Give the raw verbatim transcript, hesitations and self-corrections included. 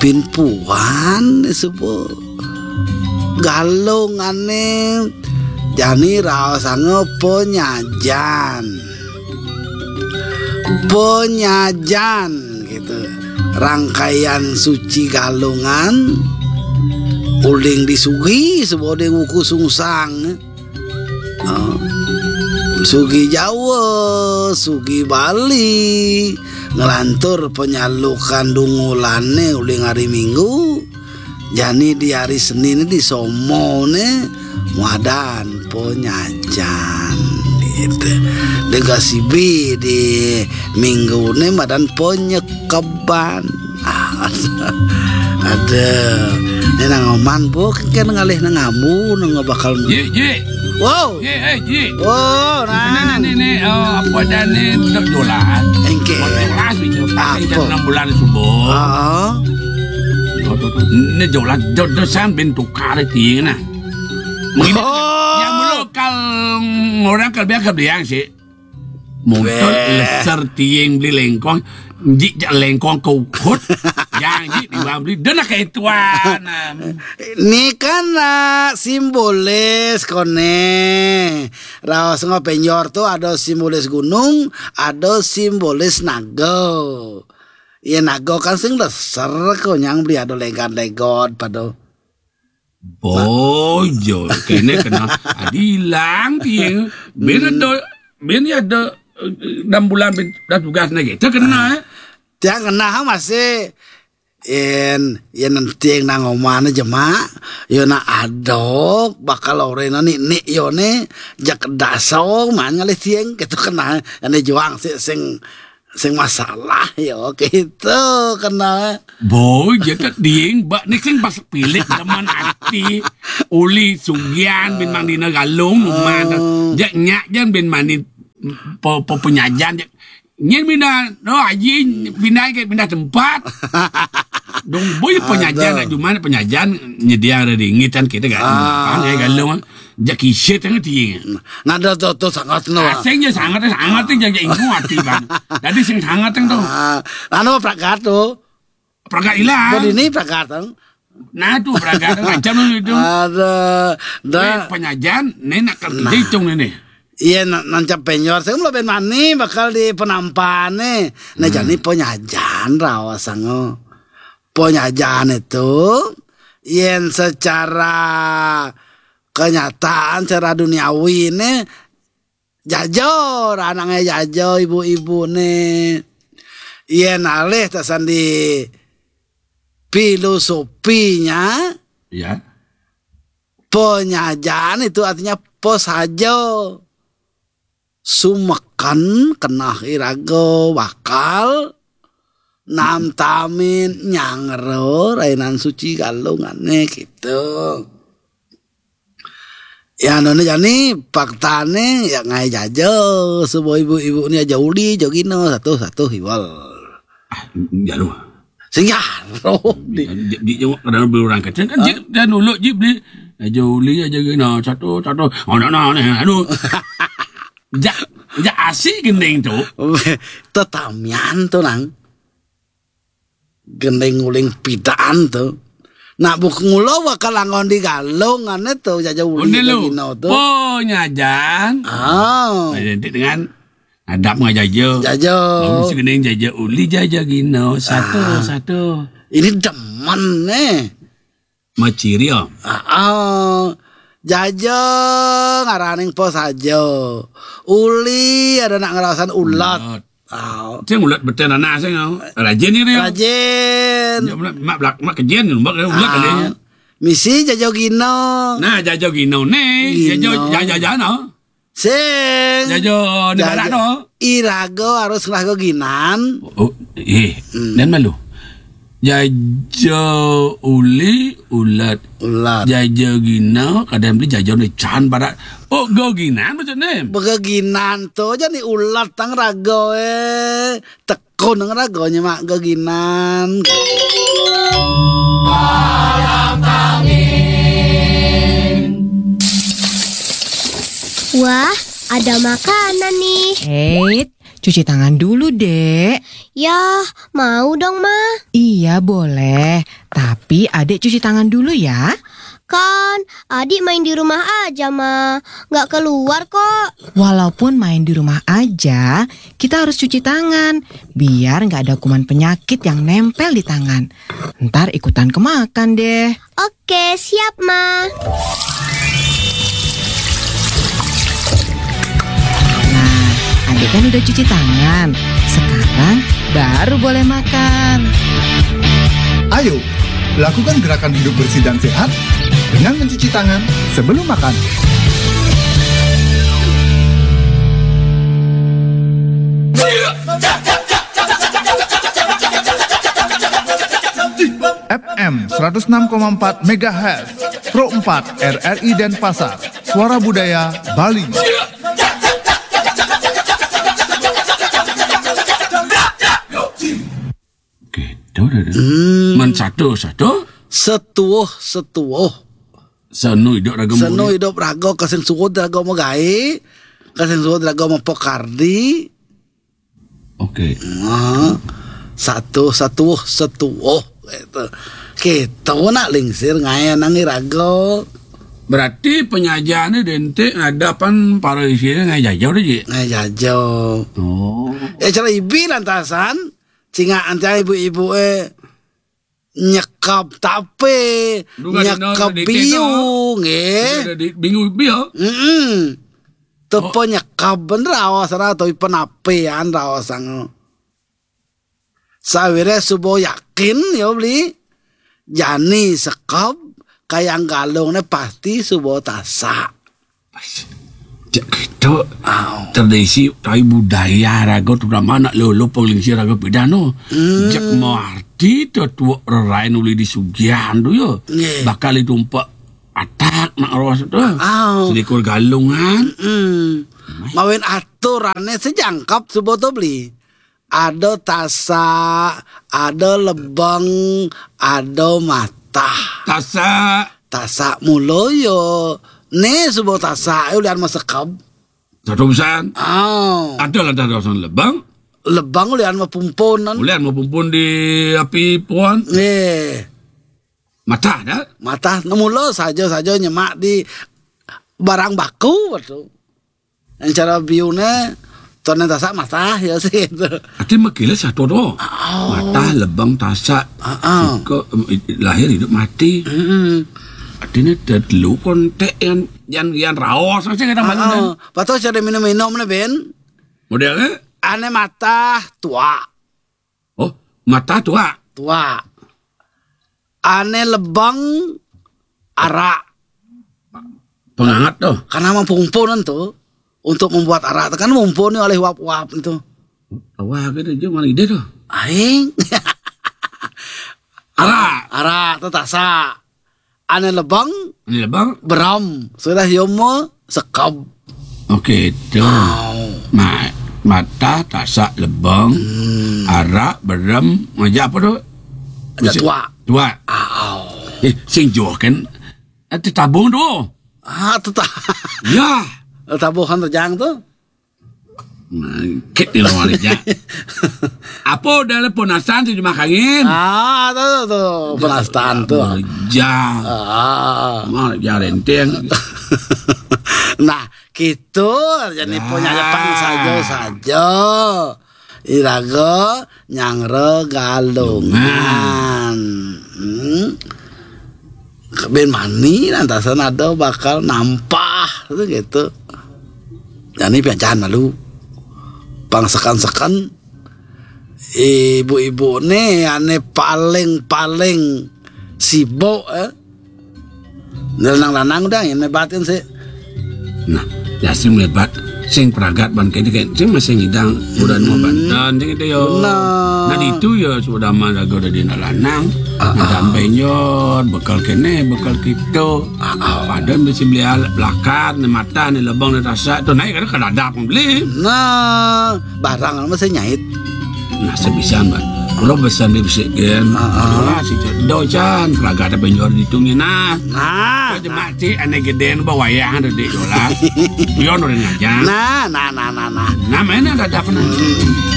Bin puan suba. Galungané jani raosanga panyajan. Panyajan gitu. Rangkaian suci Galungan uling di Sugi suba di wuku sungsang. Ah, Sugi Jawa, Sugi Bali, nglantur panyalukan dungulané uling hari Minggu. Jani di hari Senin di somoné madan panyajan gitu. Di gasibi di mingguné madan panyekeban. Ah, aduh. Né nang oman, Bu, kan ngalih nang ambu, nang bakal. Ji, Ji. Wow. Ji, eh, Ji. Wow, Ini, nang. Ini, ini, eh, apa dah ni, dok jolas. Engke. Dok jolas, gitu. Apa? Jam enam bulan subuh. Heeh. Ini jolas, jodoh sambil tukar tiang nah. Mungkin Oh. Yang dulu kal orang kal biar kal biang sih. Motor Weh. Leser tiang beli lengkong, jik jak lengkong ke ukut, yang jik di bawah beli, dah nak kayak tuan. Ni kan, ah, simbolis koné. Raos ngapenjor tu ada simbolis gunung, ada simbolis naga. Ya naga kan sing leser ko nyang beli ada legan-legon pada. Bojo, kene kena adilang tiang. Bin ada, bin ada, eh, enam bulan bin dah tugas lagi. Itu kena, eh. Tiang kena ha masih. Yen, yen tiang nang omane jemak, yo nak adok, bakal orena nik-nik yo ne, jak daso, man ngalih tiang, gitu kena. Ane juang sik sing, sing masalah, yo, gitu kena. Boy, je kat ding, bak ni sing pas pilik teman ati, uli sugian bin mang dina galung, man. Oh. Jak nyak jan bin mani po, po penyajan, jak nyen pindah, no, haji pindah ke, pindah tempat. Dong boy penyajan, Aduh. Cuma penyajan nyedia ada di ngitan kita kan. Ah. Kan, ya, galung, jak kisit tengah tiang. Nada tu, tu sangat no. Asing je sangat, sangat tu jaga ingu hati bang. Tadi sing sangat tu. Ah, anu pragat tu. Pragat ilang. Kau di ni pragat tu. Nah, tu pragat tu macam tu itu. Ada, Eh, dah. Penyajan, ni nak kerja Nah. Hitung ni, ni. Iya, na-, nancap penyor. Saya mula ben mani bakal di penampane. Nah, Hmm. Jani penyajan rawas sango. Penyajan itu, yen secara kenyataan, secara duniawi ini, jajo, anaknya jajo, ibu-ibu ni. Yen alih tasan di filosofinya, Ya. Penyajan itu artinya pesaja. Sumeken kenah iraga bakal namtamin nyangro rainan suci galungane gitu. Ya, none jani faktane ya ngai jaja, subuh ibu-ibu ni aja uli, jogino, satu-satu hiwal. Ah, jalo. Sing jaro. Di, di, di, di, kadang beli orang kecil kan, Hah? Dia, dia nuluk je beli. Aja uli, aja gino, satu, satu. Oh, no, no, no, anu. Jak, jak asik gending tu. Tetamian tu, nang. Gending uling pidaan tu. Nak buk ngulo bakal anggon di galung, ane tu, jaja uli, Onde lu. Gino tu. Ponyajan. Ah. Identik dengan adab ngajaja. Jaja. Baru si gending jaja uli, jaja gino. Satu, Ah. Satu. Ini demen, eh. Maciri, ah. Ah, ah. Jaja ngaraning pesaja. Uli ada nak ngerasan ulat. Ulat. Ah. Sing ulat beten anak sing, ah. Rajin ni dia. Rajin. Ya, mak, mak belak-, mak kejen, mak ulat Ah. Kali. Misi jaja gino. Nah, jaja gino ni. Gino. Jaja, jaja, jaja, no. Sing. Jaja ni Jaja. Barat tu. Iraga harus ngelah ginan. Oh, eh, Hmm. Dan malu. Jaja uli ulat. Ulat. Jaja gina kadang beli jaja ni can barat. Oh, go ginan maksud ni. Begeginan tu aja ni ulat tang raga, eh. Tekun nang raga nyemak geginan. Wah, ada makanan nih. Eh, Cuci tangan dulu, Dek. Yah, mau dong, Ma. Iya, boleh. Tapi Adek cuci tangan dulu ya. Kan, Adik main di rumah aja, Ma. Nggak keluar kok. Walaupun main di rumah aja, kita harus cuci tangan. Biar nggak ada kuman penyakit yang nempel di tangan. Ntar ikutan kemakan deh. Oke, siap, Ma. Nah, Adek kan udah cuci tangan. Sekarang baru boleh makan. Ayo, lakukan gerakan hidup bersih dan sehat dengan mencuci tangan sebelum makan. F M seratus enam koma empat megahertz, Pro empat R R I Denpasar, Suara Budaya Bali. Gitu dah. Hmm. Man satu satu. Setuh setuh. Senu hidup raga. Senu hidup raga kasing suud raga mau gai. Kasing suud raga mau pokardi. Oke. Okay. Nah, satu satu setuh gitu. Kita nak lingsir ngaya nangi raga. Berarti penyajiannya dentik ngadapan para isi ngaya jajau deh, Ji? Ngaya jajau. Oh. Ya cara ibi lantasan, singa antai ibu-ibu eh nyekap tape, nyekap biu, nggih. Bingung biu. Heeh. Tepe nyekap ben raos ra to penapean raos ang. Sawire subo yakin ya beli. Jani sekap kayang galung ne pasti subo tasak. Cek gitu. Tradisi tai budaya raga terutama anak lolo penglingsir raga pidano. Hmm. Cek mau arti tu tuak rerain uli di sugian tu yo. Bakal itu empat atak nak ros tu. Selikur galungan. Hmm. Mawin aturannya sejangkap subo tu beli. Ada tasak, ada lebeng, ada matah. Tasak. Tasak mulo yo. Ne subo tasak yo lian masekab. Satu pesan. Oh. Ada lah tasak lebeng. Lebeng lian mapumpunan. Lian mapumpun di api puan. Nih. Matah dah. Matah mulo saja-saja nyemak di barang baku betul. Yang cara biune tone tasak matah ya sih itu. Ati makile satu tu. Oh. Matah lebang tasak. Heeh. Siko lahir hidup mati. Heeh. Artinya telu kontek yang yang yang raos sih kata mana. Patut cara minum-minum ne ben. Modelnya? Ane matah tua. Oh, matah tua. Tua. Ane lebang arak. Pengangat tu. Karena mempumpun tu. Untuk membuat arak tu kan mumpun ni oleh uap-uap tu. Awak ke tu je mana ide tu. Aing. Arak. Arak tu tasak. Ane lebang. Ane lebang. Beram. Sudah yomo sekab. Okey tu. Wow. Ma, matah tasak lebang. Hmm. Arak beram ngaja apa tu? Ada tua. Tua. Aw. Eh, sing juh kan. Ati tabung tu. Ah, tu tak. Ya. Tabuhan terjang tu. Mangkit di luar aja. Apa udah le ponasan tu cuma kangin? Ah, tu tu, tu. Penasaran tu. Aja. Ah. Mau aja renteng. Nah, gitu jadi penyajapan saja saja. Iraga nyangre galungan. Hmm. Keben mani lantasan ada bakal nampah tu gitu. Jadi piajan malu. Pang sekan-sekan ibu-ibu ni ane paling-paling sibuk eh. Lanang-lanang udah yang mebatin sih. Nah, ya sing mebat sing peragat ban kene kan sing masih ngidang udah mau bantan sing itu yo. Nah, itu ya sudah mah lagu udah di lanang. Nah, sampai nyot bekal kene bekal kita. Ada mesti beli alat belakar ni mata ni lebang ni tasak tu naik kada kada ada pun beli. Nah, barang masih nyait. Nah, sebisan, Bang. Kalau pesan di bisikin, ah, ah, dolah si Cok. Docan, peragat apa yang jual di tungi, nah. Nah, nah. Cuma ti ane geden ba wayang ada di dolah. Pion udah ngajak. Nah, nah, nah, nah, nah. Namanya ada apa, nah? Hmm.